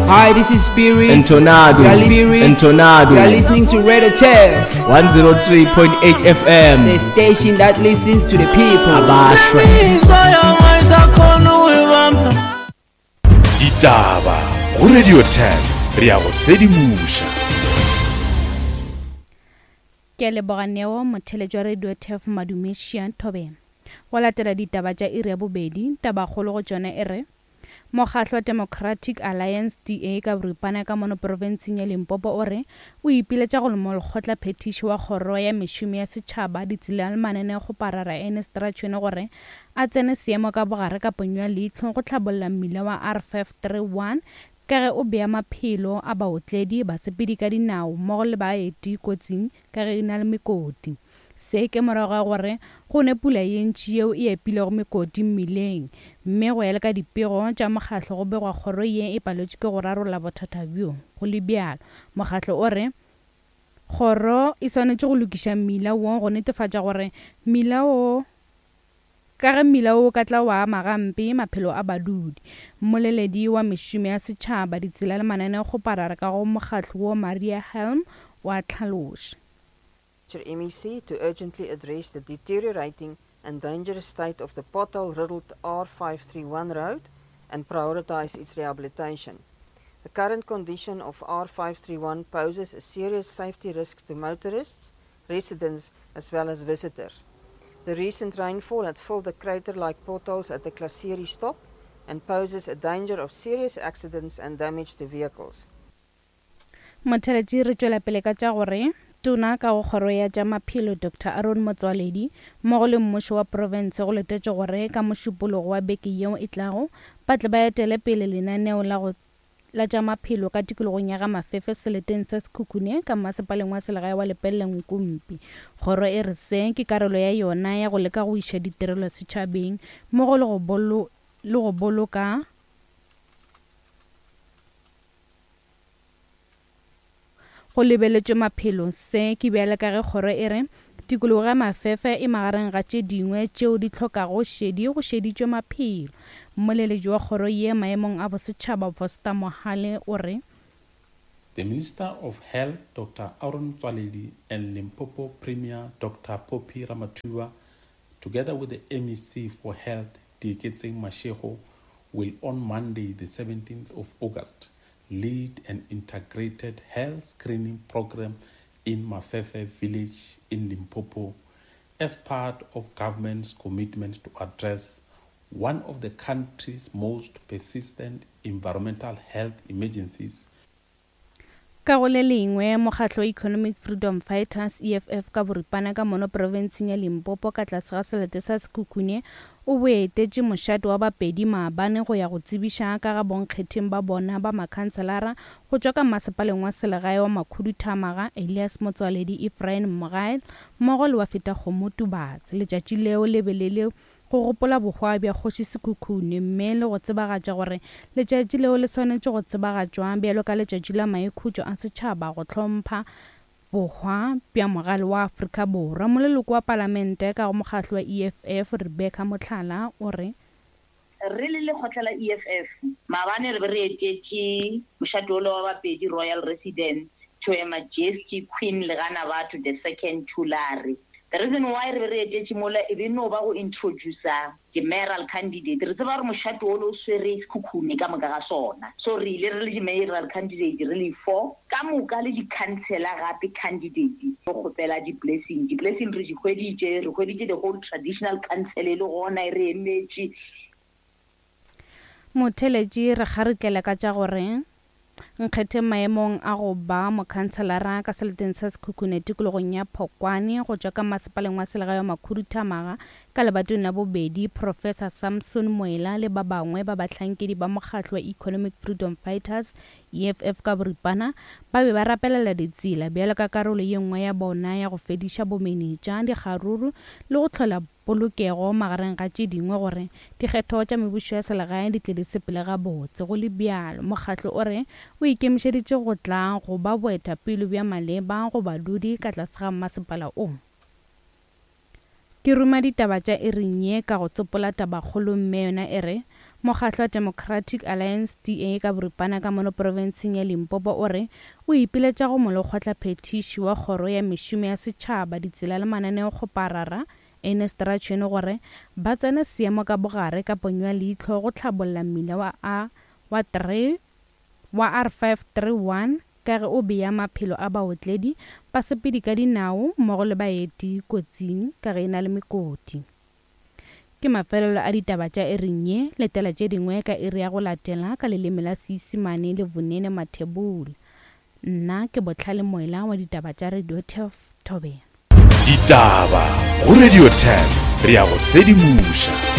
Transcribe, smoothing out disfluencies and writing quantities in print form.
Hi, this is Spirit. Entonado. You are Spirit. Entonado. You are listening to Radio Turf, 103.8 FM. the station that listens to the people. Abashwe. Ditaba go Radio 10 re a go sedimoša. Ke a leboga Neo, motheeletši wa Radio Turf Madume Shia Thobela. Go latela ditaba tša iri ya bobedi, tabakgolo go tšona e re, Mokgatlo wa Democratic Alliance, DA, ka boripana ka mono profenseng ya Limpopo o re o ipiletša go molekgotla phethiši wa kgoro ya mešomo ya setšhaba, ditsela le mananeokgoparara Ernest Rachoene gore a tsene seemo ka bogare ka ponyo ya leihlo go hlabolla mmila wa R531 ka ge o bea maphelo a baotledi, basepedi ka dinao mmogo le baeti kotsing ka ge e na le mekoti. Se ke morago ga gore go ne pula ye ntši yeo e epilego mekoti mmileng, mme go ya le ka dipego tša mokgatlo go begwa kgoro ye e paletšwe ke go rarolla bothata bjo. Go le bjalo, mokgatlo o re kgoro e swanetše go lokiša mmila wo go netefatša gore mmila wo ka ge mmila wo o ka tla wa ama gampe maphelo a badudi. Mmoleledi wa mešomo ya setšhaba, ditsela le mananeokgoparara ka go mokgatlo wo Maria Helm o a hlaloša. MEC to urgently address the deteriorating and dangerous state of the pothole-riddled R531 road and prioritize its rehabilitation. The current condition of R531 poses a serious safety risk to motorists, residents, as well as visitors. The recent rainfall had filled the crater-like potholes at the Klaserie stop and poses a danger of serious accidents and damage to vehicles. Motheletši re tšwela pele ka tša gore Tona ka go Kgoro ya tša Maphelo Doctor Aaron Motsoaledi mmogo le mmušo wa profense go letetšwe gore ka Mošupologo wa beke yeo e tlago ba tle ba etele pele lenaneo la go la tša maphelo ka tikologong ya ga Mafefe seleteng sa Sekhukhune ka mmasepaleng wa selegae wa Lepelle Nkumpi. Kgoro e re se ke karolo ya yona ya go leka go iša ditirelo setšhabeng mmogo le go le go boloka Go lebeletšwe maphelo, se ke bjale ka ge kgoro e re tikologo ya Mafefe e magareng ga tše dingwe tšeo di hlokago šedi go šeditšwe maphelo. Mmoleletši wa kgoro ye maemong a bosetšhaba Voster Mohale o re. The Minister of Health Doctor Aaron Motsoaledi and Limpopo Premier Doctor Phophi Ramathuba together with the MEC for Health Dieketseng Mashego will on Monday the 17th of August lead an integrated health screening program in Mafefe village in Limpopo as part of government's commitment to address one of the country's most persistent environmental health emergencies. Ka go le lengwe, mokgatlo wa Economic Freedom Fighters, EFF, ka boripana ka mono profenseng ya Limpopo ka tlase ga selete sa Sekhukhune o boetetše mošate wa Bapedi maabane go ya go tsebiša ka ga bonkgetheng ba bona ba makhanselara go tšwa ka mmasepaleng wa selegae wa Makhuduthamaga, Elias Motsoaledi, Ephraim Mogae mmogo le wa Fetakgomo Tubatse. Letšatši leo le be le le go gopola bohwa bja Kgoši Sekhukhune mme le go tsebagatša gore letšatši leo le swanetše go tsebagatšwa bjalo ka letšatši la maikhutšo a setšhaba go hlompha bohwa bja mogale wa Afrika Borwa. Moleloko wa Palamente ka go mokgatlo wa EFF, Rebecca Mohlala o re. Re le lekgotla la EFF, maabane re be re etetše mošate wola wa Bapedi Royal Residence to Her Majesty Queen Leganabatho the Second Thulare. The reason why re be re etetše mola e be no ba go introducer di-mayoral candidate. Re tseba gore mošate wola o swere Sekhukhune ka moka ga sona. So re ile re le di-mayoral candidate re le four ka moka le di-councillor gape candidate go kgopela di-blessing. Di-blessing re di hweditše, re hweditše the whole traditional council e le gona e re emetše. Motheeletši re kgarutlela ka tša gore Nkgetheng maemong a go ba mokhanselara ka seleteng sa Sekhukhune tikologong ya Phokwane go tšwa ka masepaleng wa selegae wa Makhuduthamaga ka lebatong la bobedi, Professor Samson Moela le ba bangwe ba bahlankedi ba mokgatlo wa Economic Freedom Fighters, EFF ka boripana, ba be ba rapelela ditsela bjalo ka karolo ye nngwe ya bona ya go fediša bomenetša, dikgaruru le go hlola polokego magareng ga tše dingwe gore dikgetho tša mebušo ya selegae di tle di sepele gabotse. Go le bjalo, mokgatlo o re o ikemišeditše go tla go ba boetapele bja maleba go badudi ka tlase ga mmasepala o. Ke ruma ditaba tša iring ye ka go tsopola tabakgolo mme yona e re, Mokgatlo wa Democratic Alliance, DA, ka boripana ka mono profenseng ya Limpopo o re o ipiletša go molekgotlaphethiši wa Kgoro ya Mešomo ya Setšhaba, Ditsela le Mananeokgoparara, Ernest Ratšhwene gore ba tsene seemo ka bogare ka ponyo ya leihlo go hlabolla mmila wa A wa 3 wa R531 ka ge o bea maphelo a baotledi, basepedi ka dinao mmogo le baeti kotsing ka ge e na le mekoti. Ke mafelelo a ditaba tša iring ye, letela tše dingwe ka iri ya go latela ka leleme la Seisemane le Vunene Mathebula. Nna ke Bohlale Moela wa ditaba tša Radio Turf, Thobela. Ditaba go Radio Turf, re a go sedimoša.